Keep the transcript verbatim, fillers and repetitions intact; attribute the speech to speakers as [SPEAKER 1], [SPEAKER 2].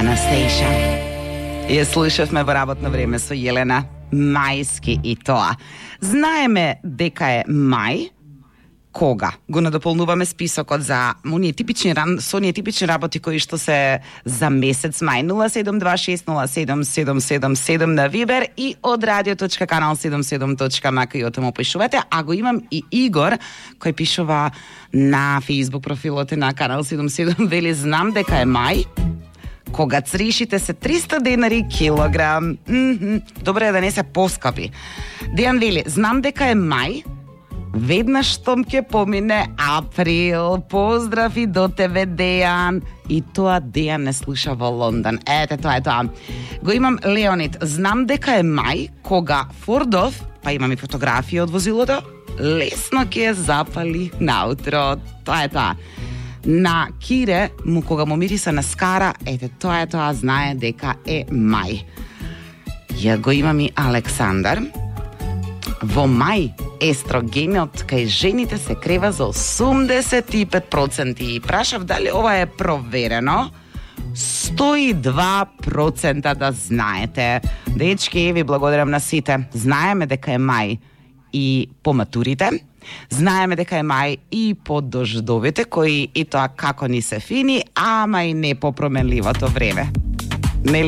[SPEAKER 1] Анастейша. Ја слушавме во работно време со Јелена Мајски и тоа. Знаеме дека е мај, кога го надополнуваме списокот за оние типични со оние типични работи кои што се за месец мај. Нула седум два шест нула седум седум седум седум на Вибер и од радио точка канал седумдесет и седум точка ем ка и отаму пишувате, а го имам и Игор кој пишува на Facebook профилот на канал седумдесет и седум, вели знам дека е мај кога цришите се триста денари килограм. Mm-hmm. Добре е да не се поскапи. Дејан вели, знам дека е мај, веднаш штом ќе помине април. Поздрав и до тебе, Дејан. И тоа Дејан не слуша во Лондон. Ете, тоа е тоа. Го имам Леонид. Знам дека е мај, кога Фордов, па имам и фотографија од возилото, лесно ќе запали наутро. Тоа е тоа. На Кире, му кога му мириса на скара, ете, тоа е тоа, знае дека е мај. Ја го имам и Александар. Во мај естрогенот кај жените се крева за осумдесет и пет проценти. И прашав дали ова е проверено. сто и два проценти да знаете. Дечки, ви благодарам на сите. Знаеме дека е мај и по матурите. Знаеме дека е мај и по дождовите, кои и тоа како ни се фини, ама и не по променливото време.